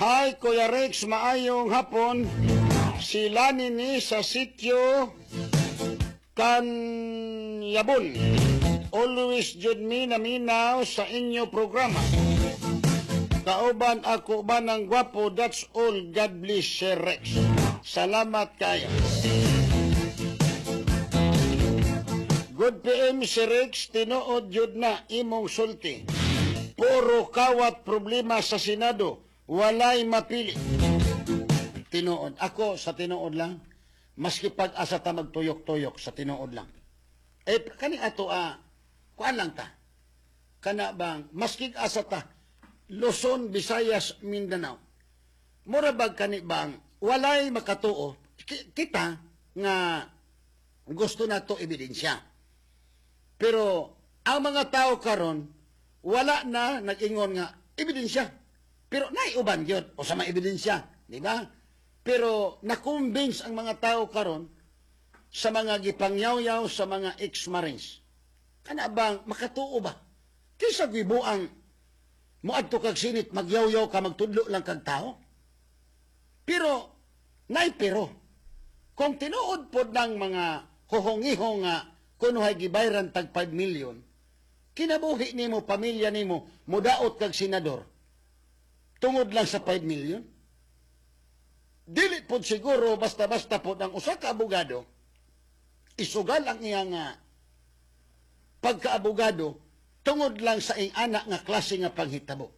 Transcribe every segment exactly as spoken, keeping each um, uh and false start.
Hi, Kuya Rex, maayong hapon. Sila ni sa sitio Kanyabon. Always jud mi naminaw sa inyo programa. Kauban ako ba ng gwapo? That's all. God bless, Sir Rex. Salamat kayo. Good P M, Sir Rex. Tinuod jud na imong sulti. Puro kawat problema sa Senado. Walay mapili. Tinuod. Ako sa tinuod lang. Maski pag-asa ta magtuyok-tuyok, sa tinuod lang. Eh, kani ato, ah, kuan lang ta. Kana bang, maski asa ta, Luzon, Visayas, Mindanao. Mura bag kani bang, walay makatuo, ki- kita nga gusto na to ebidensya. Pero ang mga tao karon wala na nag-ingon nga ebidensya. Pero naiuban gyud o sa mga ebidensya, di ba? Pero na-convince ang mga tao karon sa mga gipangyaw-yaw sa mga ex-marines. Kana bang makatuo ba? Kaysa gibuang moadto kag Senate, magyaw-yaw ka, magtudlo lang kag tao. Pero nay pero kung tinuod pod ng mga huhongihong nga kunuhay gibayran tag five million, kinabuhi nimo, pamilya nimo, mudaot kag senador tungod lang sa five million? Dili pod siguro basta-basta pod ang usa ka abogado isugal ang iyang nga pagkaabogado tungod lang sa ing ana nga klase nga panghitabo.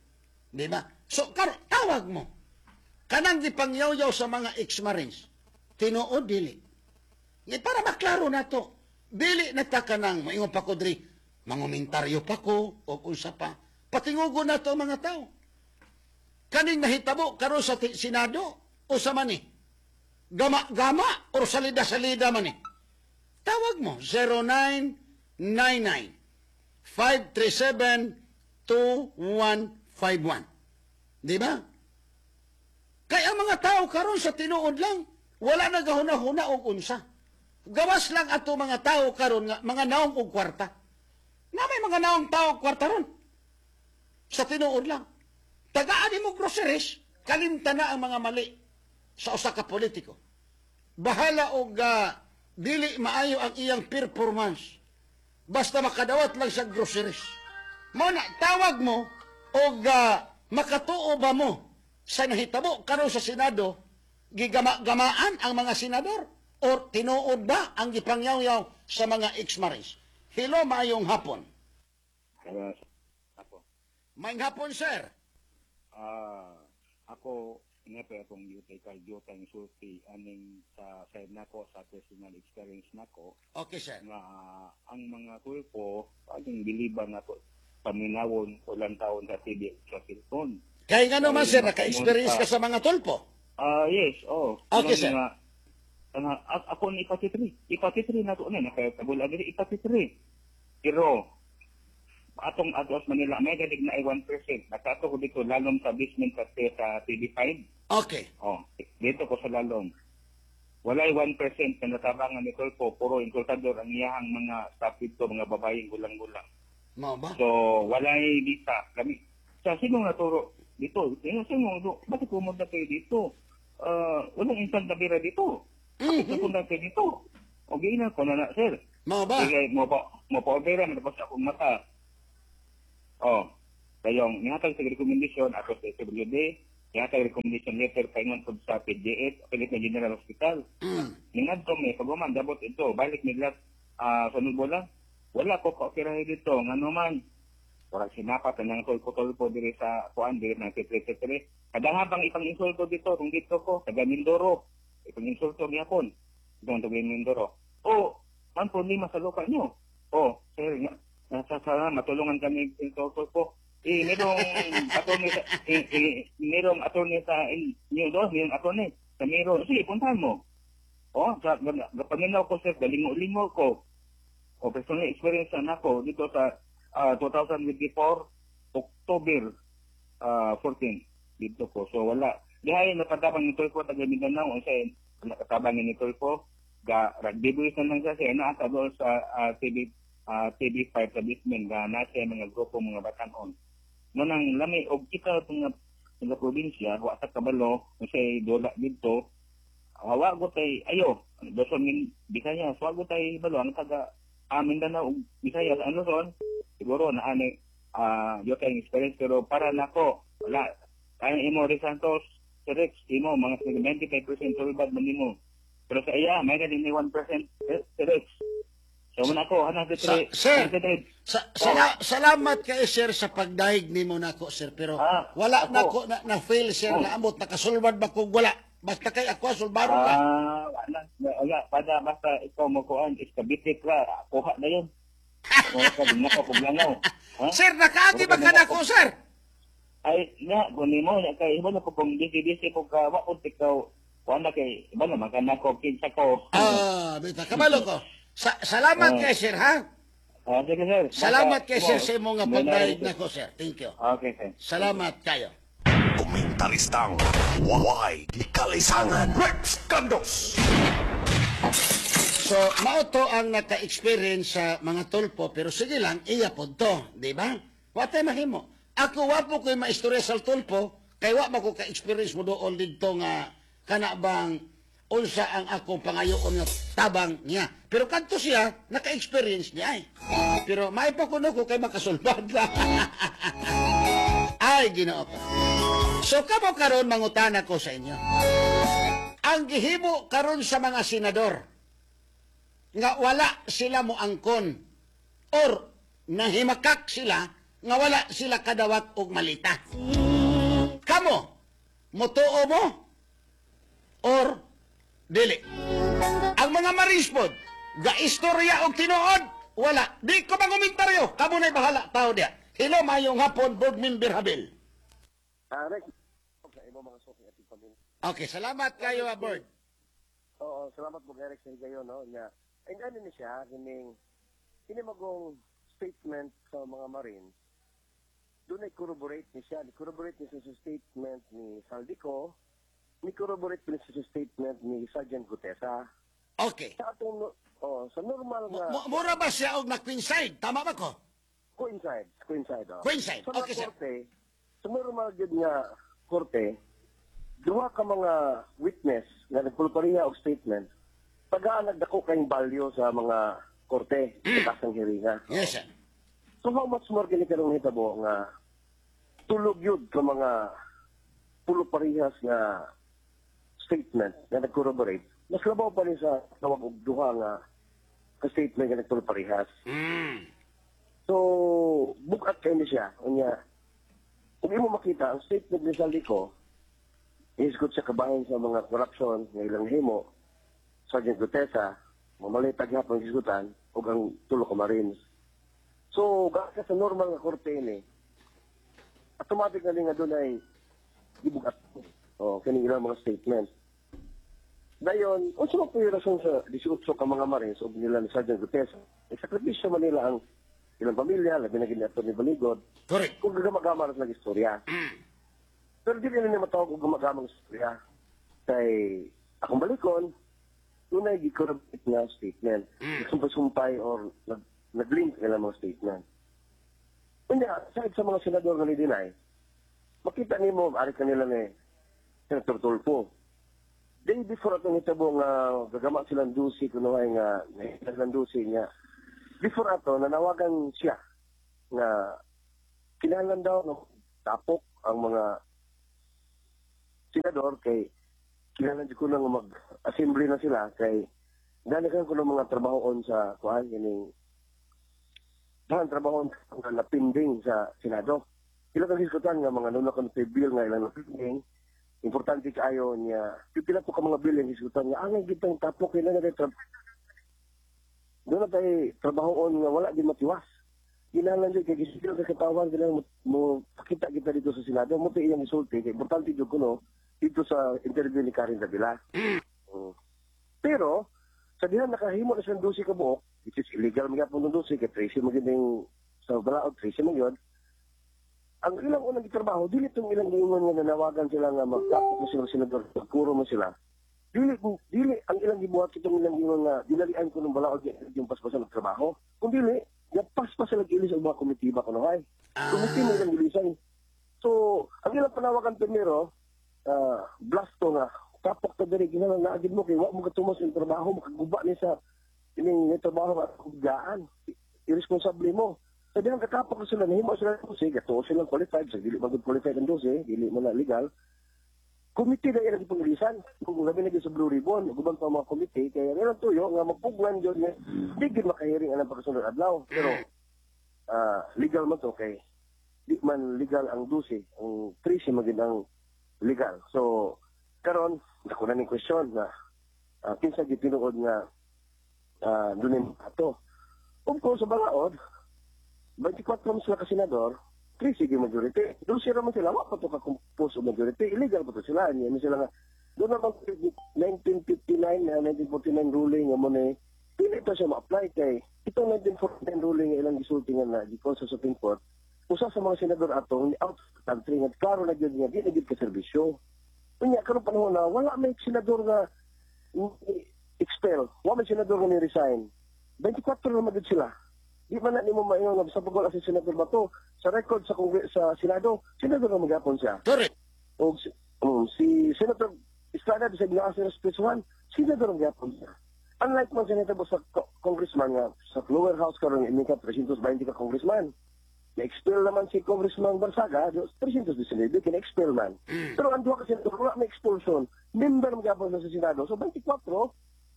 Di ba? So, kar tawag mo. Kanang gipangyaw-yaw sa mga ex-marines, tinuod dili? Nga para maklaro na to. Dili na ta kanang maingon pa ko diri, mangomentaryo pa ko o unsa pa. Patingugo na to ang mga tao. Kaning nahitabo karon sa ti- Senado o sa mani? Gama-gama o salida-salida man ni? Tawag mo zero nine nine nine, five three seven, two one five one. Di ba? Kaya ang mga tao karon sa tinuod lang, wala na gahuna-huna og unsa. Gawas lang ato mga tao karon nga mga naong og kwarta. Na may mga naong tao og kwarta ron. Sa tinuod lang. Tagaan mo groceries, kalimta na ang mga mali sa usa ka politiko. Bahala og ah, dili maayo ang iyang performance. Basta makadawat lang sa groceries. Mo na tawag mo og ah, makatuo ba mo sa nahitabo karon sa Senado, gigama-gamaan ang mga senador or tinuod ba ang gipangyaw-yaw sa mga ex-marines? Hello, maayong hapon. Kaya ako, Maayong hapon, sir. ah ako nga pa akong yutay kay jutang sulti aning sa side nako, sa personal experience nako Okay, sir. nga ang mga tulpo ating biliban nato paminawon o taon sa T V sa cellphone. Kaya nga naman, sir, Ay, naka-experience ka sa mga tulpo. Ah yes, oh. Okay, sir. Nga, nga, a- ako ni ipatitri. Ipatitri na to na nakatabula diri ipatitri. Pero atong atos Manila may gadig na ay one percent. Nakato ko dito lalom sa basement sa, sa T V five. Okay. Oh, dito ko sa lalom. Walay one percent na natabangan ni Tulfo, puro insultador ang iyahang mga staff dito, mga babaeng gulang-gulang. Mao ba? So, walay visa. Kami, sa sino naturo dito? Sino, sino, bakit pumunta kayo dito? Ah, walang instant na bira dito. Bakit Mhm. pupunta kayo dito? O, na ko na na, sir. Mao ba? Sige, mo pa, mo pa opera, matapos akong mata. Oh, kayong nihatag sa recommendation ako sa S W D, nihatag recommendation letter paingon pud sa P G H, Philippine General Hospital. Mm. Ningadto mi pag dabot ito, balik nila ah sa Nubola. Wala ko pa-operahe dito, ngano man. Wala sinapat ang tulpo-tulpo diri sa kuan diri ng titre-titre. Kada habang ipang insulto dito, kung dito ko, taga Mindoro, ipang insulto gyapon. Itong taga Mindoro. O, man problema sa lokal nyo. O, sir, nga, nasa sana matulungan kami insulto ko. Eh, merong attorney sa, eh, eh, merong attorney sa inyo doon, merong attorney sa meron. Sige, puntahan mo. Oh, sa gapaminaw ko, sir, galingo-lingo ko. O personal experience na nako dito sa ah, twenty twenty-four October ah, fourteen dito ko. So wala. Dihay napatabang ni Tulfo taga Mindanao unsa nakatabang ni Tulfo ga rugby boys na lang siya siya naa sa doon sa ah, T V ah, T V five sa basement ga na siya mga grupo mga batanon. No nang lami og kita mga sa probinsya, wa ta kabalo kasi dula didto. Wa go tay ayo, Luzon min Visayas, wa go tay balo ang taga ah, Mindanao ug Visayas ang Luzon siguro na ani ah yo kay experience, pero para nako wala. Kaya imo Rex Santos, si Rex, imo mga ninety-five percent sulbad man nimo. Pero sa iya, may din ni one percent si Rex. So man ako, hanap Sa, sir, sa, sala, salamat kay sir sa pagdahig nimo nako, sir, pero Ah, wala ako. na ko na, na fail, sir, Oh. na amot nakasulbad ba kung wala. Basta kay ako sulbaron ka. Ah, wala. Wala, pada basta ikaw mo kuan, iskabitik ra, kuha na yun. Wala ka din nako kung langaw. Ha? Sir, nakaagi ba ka nako, sir? Ay, nga, kung nimo, kay iba na ko kung busy-busy ko ka, wa ko ikaw, kuan na kay, iba naman ka nako, kinsa ko. Ah, bita kabalo ko. Sa, salamat Ah. kay sir, ha? Ah, sige, sir. Salamat kay sir Basta- sa imong nga May pagdahig na- nako, sir. Thank you. Okay, sir. Salamat kayo. Komentaristang Way Kalisangan Rex Gandos. So, mao to ang naka-experience sa mga Tulfo, pero sige lang, iya pod to, di ba? Wa tay mahimo. Ako wa po ko'y maistorya sa Tulfo, kay wa ba ko ka-experience mo doon didto nga kana bang unsa ang akong pangayoon nga tabang niya. Pero kadto siya, naka-experience niya ay. Pero may pa kuno ko kay makasulbad lang. Ay, Ginoo ko. So kamo karon, mangutana ko sa inyo. Ang gihimo karon sa mga senador nga wala sila mo angkon or nahimakak sila nga wala sila kadawat og malita. Kamo, motuo mo or dili? Ang mga Marines pod, ga-istorya og tinuod, wala. Di ko mangomentaryo. Kamo na'y bahala tao diya. Hello, mayong hapon, board member Habil. Ah, Rex, sa imo mga suki at pamilya. Okay, salamat kayo, ah, board. Oo, salamat mo Rex sa higayon, no? Nya. And ano ni siya, kining kini magong statement sa mga Marines. Doon ay corroborate ni siya, ni corroborate ni siya sa statement ni Zaldy Co, ni corroborate ni siya sa statement ni Sergeant Guteza. Okay. Sa atong oh, sa normal nga Mu- Mura ba siya og na-coincide? Tama ba ko? Coincide, coincide. Oh. Coincide. Sa mga Okay, sir. korte, sa normal gyud nga korte, duha ka mga witness nga nagpulpariha og statement, tagaan nagdako kayong value sa mga korte sa kasang hiringa. Yes, sir. So how much more kini karong hitabo nga tulog yun ka mga pulo parehas nga statement nga nag-corroborate, mas labaw pa ni sa tawag og duha nga ka statement nga nagpulo parehas. Mm. So, bugat kay ni siya. Unya, kung imo makita, ang statement ni Zaldy Co, ihisgot sa kabahin sa mga corruption nga ilang himo, Sergeant Guteza, mamalitag hapon hisgutan, ug ang tulo ka Marines. So, gaka sa normal nga korte ni, automatic na nga doon ay gibugat. O, kining ilang mga statement. Dayon, unsa man po yung rason sa eighteen ka mga Marines o nila ni Sergeant Guteza? Sakripisyo man nila ang ilang pamilya, labi na gini ni Baligod, Correct. kung gagamagama na silang istorya. Pero di nila matawag og gamagamang istorya. Kay akong balikon, doon ay gi-corroborate nga statement. Nagsumpay-sumpay or nag, nag-link nila mga statement. Unya, side sa mga senador nga ni-deny, makita nimo ari kanila ni Senator Tulfo. Day before atong hitabo nga gagama silang dusi kuno ay nga nahitag ng dusi niya. Before ato nanawagan siya nga kinahanglan daw nga tapok ang mga senador kay kinahanglan jud kuno nga mag-assembly na sila kay dali kan kuno mga trabahoon sa kuan kining dahan trabahoon nga napinding sa Senado. Ila kang hisgutan nga mga nuna kon bill nga ilang napinding, importante kaayo niya. Pipila po ka mga bill ang hisgutan nga angay gitang tapok kailangan na tra- doon na tayo trabahoon nga wala din matiwas. Kinahanglan jud kay gisigil ka katawan kailangan mo, mo pakita kita dito sa Senado mo to iyang isulti kay importante jud kuno dito sa interview ni Karen Davila. Mm. Pero sa diha nakahimo na siyang dusi ka buok, which is illegal magyapon ng dusi kay trese man gyud yung sa balaod, trese man yun. Ang ilang unang gitrabaho, dili tong ilang giingon nga nanawagan sila nga magtapok mo sila senador, magkuro mo sila. Dili dili ang ilang gibuhat itong ilang giingon nga dinalian ko ng balaod yung paspasan ng trabaho. Kung dili, yapaspas sila gilis ang mga komitiba kuno ay. Komite mo ilang gilisan. So, ang ilang panawagan primero, uh, blasto nga, kapok ta diri kinahanglan naagid mo kay wa mo katumos yung trabaho, makaguba ni sa ining ni trabaho nga kugaan. Irresponsable mo. Sa dihang kakapok na sila, nahimo sila ng dose, gato silang qualified, sa dili man gud qualified ang dose, dili man na legal. Komite na ilang ipangilisan. Kung labi na gyud sa Blue Ribbon, guban pa mga komite, kaya ilang tuyo nga magpugnan yun nga, di gyud makahiring ang pagkasunod adlaw. Pero ah, legal man to kay di man legal ang dose, ang trese man gyud ang legal. So karon dako na ning question na uh, kinsa gyud tinuod nga uh, dunay ato. Of course, sa balaod, twenty-four man sila ka senador, trese gyud majority. Dose ra man sila, wa pa to ka-compose og majority, illegal pa to sila. Niya sila nga doon naman nineteen fifty-nine na nineteen forty-nine ruling nga mo ni dili pa siya ma-apply kay itong nineteen forty-nine ruling nga ilang gisulti nga na gikan sa Supreme Court, usa sa mga senador atong ni out of the country nga klaro na gyud nga di na gyud ka serbisyo. Unya karon panahon na wala may senador nga ni expel, wala may senador nga ni resign. twenty-four na gyud sila. Di man na nimo maingon nga sa pag wala si Senador Bato sa record sa Kongre- sa Senado, senador na magyapon siya. Correct. O si, um, si Senator Estrada bisag naa siya sa one, senador ang gyapon siya. Unlike man senator sa co- congressman nga sa lower house karon ini ka three twenty ka congressman. Na-expel naman si Congressman Barsaga, three nineteen kina-expel man. Pero ang duha ka senador wala may expulsion. Member man gyapon sa Senado. So twenty-four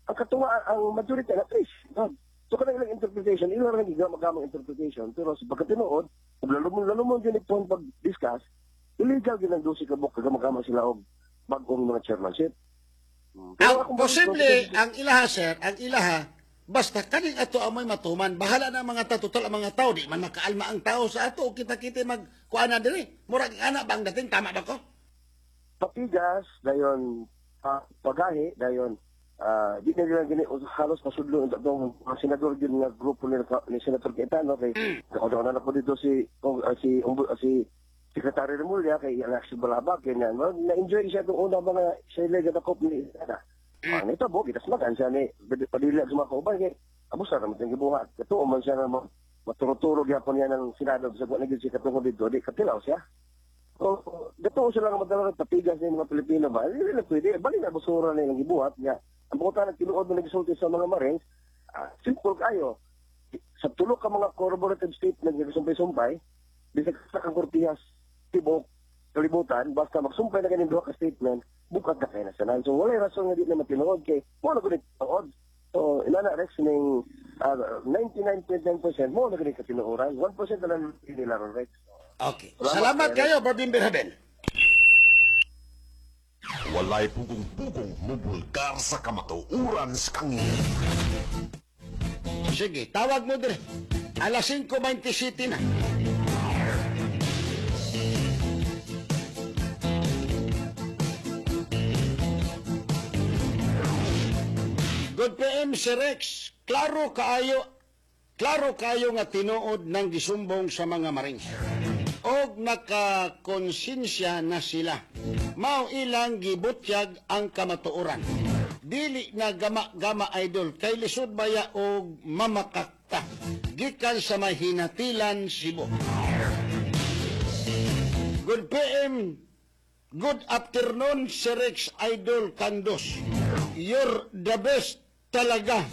ang katuwa ang majority na tres. No? So kanang ilang interpretation, ilang ra gigamang interpretation, pero sa pagkatinuod, ug lalo mo lalo mo gyud pong pag-discuss, illegal gyud ang dose ka buok kagamagama sila og bag-ong mga chairmanship. Hmm. Pero Ang akong posible, ang ilaha, sir, ang ilaha, basta kaning ato amoy matuman, bahala na ang mga tao, total ang mga tao, di man makaalma ang tao sa ato, kita-kita mag kuana diri. Murag ana bang dating, tama ba ko? Patigas, dayon uh, pagahi, dayon ah, di na nila gini halos masudlo ang atong mga senador gyud nga grupo ni, ni Senator Cayetano kay mm. na na po dito si kung, ah, si umbu, ah, si Secretary Remulla kay Alexis Balabag kay na na-enjoy siya itong una mga sa ila gadakop ni Estrada. Mm. Ah, nito bo gitasmagan siya ni Padilla sa mga kauban kay abusa ra man tong gibuhat. Katuo man siya na maturo-turo gyapon niya ng Senado sa wa na gyud siya katungod dito, di katilaw siya. So, gato sila nga madala ng patigas ng mga Pilipino ba? Hindi na pwede. Bali na basura na ilang gibuhat niya. Ang buta nagtinuod na nagsulti sa mga Marines, ah, simple kayo. Sa tulo ka mga corroborative statement nga sumpay-sumpay, bisag sa kang kortihas tibok kalibutan, basta magsumpay na kaning duha ka statement, bukat na kay nasanan. So walay rason nga di na matinuod kay mo na gud tinuod. So inana Rex ning uh, ninety-nine point nine percent mo na gud katinuoran. one percent na lang nila ron, Rex. Okay. Salamat, Salamat Eric. kayo, Barbie Berhaben. Walay pugong-pugong mubulgar sa kamatuoran sa kangin. Sige, tawag mo dire. Alas singko twenty-seven na. Good P M, si Rex. Klaro kaayo, klaro kayo nga tinuod ng gisumbong sa mga Marines. Og nakakonsensya na sila. Mao ilang gibutyag ang kamatuoran. Dili na gama-gama, idol, kay lisod baya og mamakakta. Gikan sa may Hinatilan, Cebu. Good P M, good afternoon, Sir Rex Idol Kandos. You're the best talaga.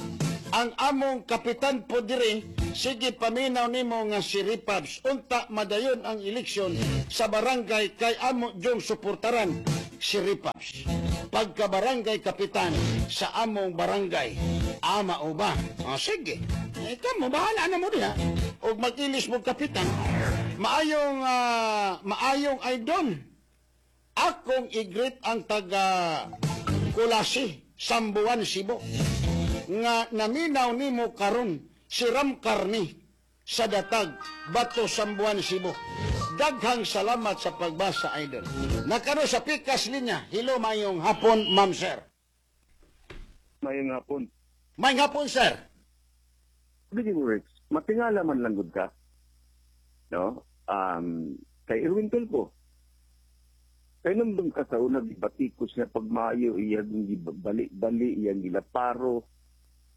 Ang among kapitan po dire, sige paminaw nimo nga si Ripabs. Unta madayon ang eleksyon sa barangay kay amo jong suportaran si Ripabs. Pagka barangay kapitan sa among barangay, ama o ba? O sige. Eh, kamo, bahala na mo diha. Og mag-ilis mo kapitan. Maayong, ah, maayong idol. Akong i-greet ang taga Kulasi, Sambuan, Cebu. Nga naminaw nimo karon si Ram Karni sa Datag, Bato, Sambuan, Cebu. Daghang salamat sa pagbasa, idol. Nakano sa pikas linya. Hello, mayong hapon, ma'am sir. Mayong hapon. Mayong hapon, sir. Speaking words, matingala man lang gud ka. No? Um, kay Erwin Tulfo. Kay nandun ka sa una, gibatikos niya pagmayo, iyang gibali-bali, iyang gilaparo,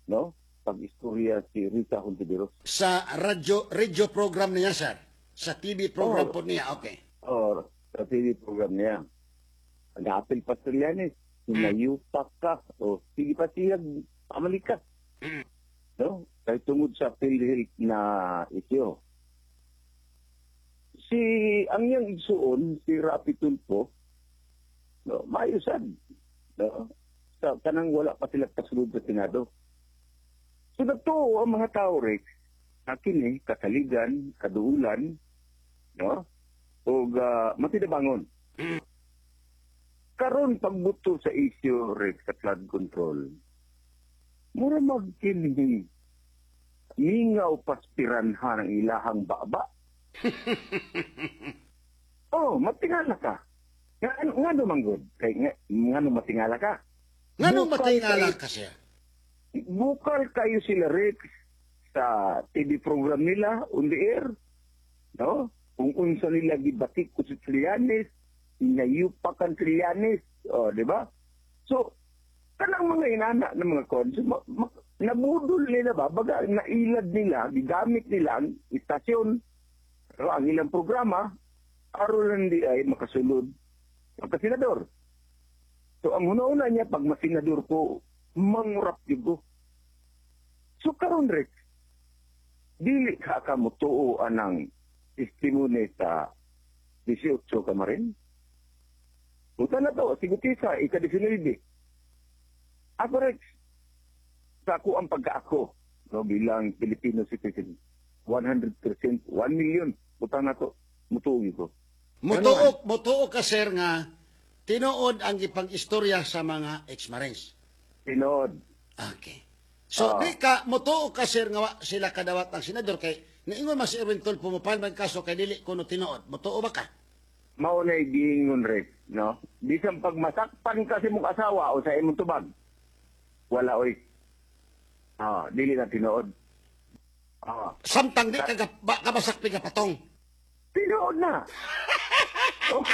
no? Pag-istorya si Risa Hontiveros. Sa radyo, radio program niya, sir. Sa T V program Oh. po niya, okay. Or sa T V program niya. Nag-apil pa Trillanes, hinayupak ka, o sige pa siya, pamalik ka. No? Kay tungod sa PhilHealth na isyo. Si, ang iyang igsuon, si Raffy Tulfo, no, maayusan. No? Sa kanang wala pa sila kasulod sa Senado. So nagtuo ang mga tao, Rex, akin eh, kasaligan, kaduulan, no? O uh, matinabangon. Karon pagbuto sa issue, Rex, sa flood control, mura magkini mingaw paspiranha ng ilahang baba. Oh, matingala ka. Nga, ano, nga naman good? Kay, nga, nga matingala ka? Nganong Bukal matingala kay- ka siya? Bukal kayo sila, Rex, sa T V program nila on the air. No? Kung unsa nila gibatik ko si Trillanes, inayupak ang Trillanes. O, di ba? So, kanang mga inana ng mga kon, so, ma- ma- nabudol nila ba? Baga, nailad nila, gigamit nila ang istasyon, no, ang ilang programa, aron lang di ay makasulod pagka-senador. So, ang una-una niya, pag masenador ko, mangurap yun ko. So, karon Rex, dili ka ka mutuo anang testimony sa eighteen Kamarin. Punta na to, sigutisa, ika nineteen. Ako, Rex, sa ako ang pagkaako, no, bilang Filipino citizen, one hundred percent, one million, punta na to, mutuo ko. Mutuo, mutuo ka, sir, nga tinuod ang ipag-istorya sa mga ex-marines. Tinuod. Okay. So, Ah. di ka, mutuo ka, sir, nga wa sila kadawat ang senador kay niingon man si Erwin Tulfo mo man kaso kay dili kuno tinuod. Mutuo ba ka? Mao na giingon, Rex, no? Bisan pag masakpan kasi mong asawa o sa imong tubag, wala oy. Ah, dili na tinuod. Ah, Samtang di ka ba, kamasakpi ka patong. Tinuod na. Oh,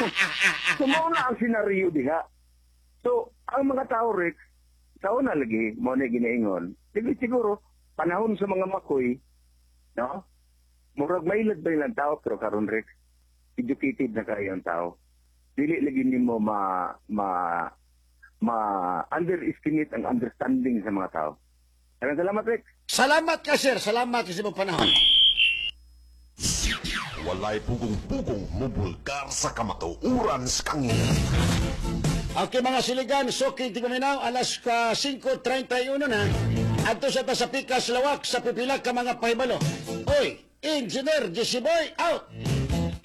so mao na ang senaryo diha. So, ang mga tao, Rex, tao na lagi, mao na ginaingon. Dili siguro, panahon sa mga makoy, no? Murag mailad ba ilang tao, pero karon, Rex, educated na kayo ang tao. Dili lagi nimo ma ma ma underestimate ang understanding sa mga tao. Maraming salamat, Rex. Salamat ka, sir. Salamat sa imong panahon. Walay pugong-pugong mubulgar sa kamatuoran sa kangin. Okay, mga siligan, suki tigpaminaw, alas ka singko trenta'y uno na. Adto sa ta sa Pikas Lawak sa pipila ka mga pahibalo. Oy, Engineer J C Boy out.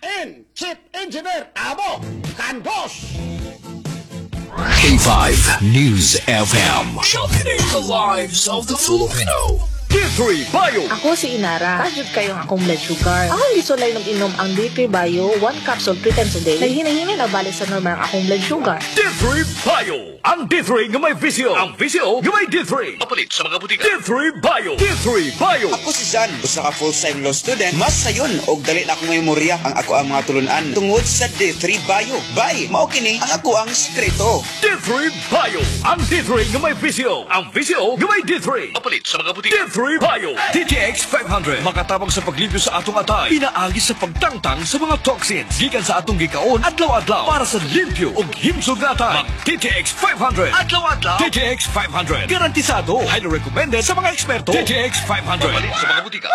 And Chief Engineer Abo Canbos. K five News F M. Championing the lives of the Filipino. D three Bio. Ako si Inara. Taas jud kayo ang akong blood sugar. Akong gisulay ng inom ang D three Bio, one capsule three times a day. Naghinay-hinay na balik sa normal ang akong blood sugar. D three Bio. Ang D three nga may V C O. Ang V C O nga may D three. Papalit sa mga butika. D three Bio. D three Bio. Ako si Zan, usa ka full-time law student. Mas sayon og dali na akong memorya ang ako ang mga tulunan tungod sa D three Bio. Bay, mao kini ang ako ang sekreto. D three Bio. Ang D three nga may V C O. Ang V C O nga may D three. Papalit sa mga butika. D three Bio. D T X five hundred. Makatabang sa paglimpyo sa atong atay. Pinaagi sa pagtangtang sa mga toxins. Gikan sa atong gikaon adlaw-adlaw para sa limpyo ug himsog nga atay. Mag D T X five hundred. Adlaw-adlaw. D T X five hundred. Garantisado. Highly recommended sa mga eksperto. D T X five hundred. Papalit sa mga butika.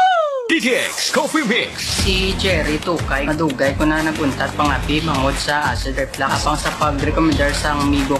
D T X Coffee Mix. Si Jerry Tukay, madugay ko na naguntat pangapi mangod sa acid reflux. Apang sa pag-recommendar sa amigo.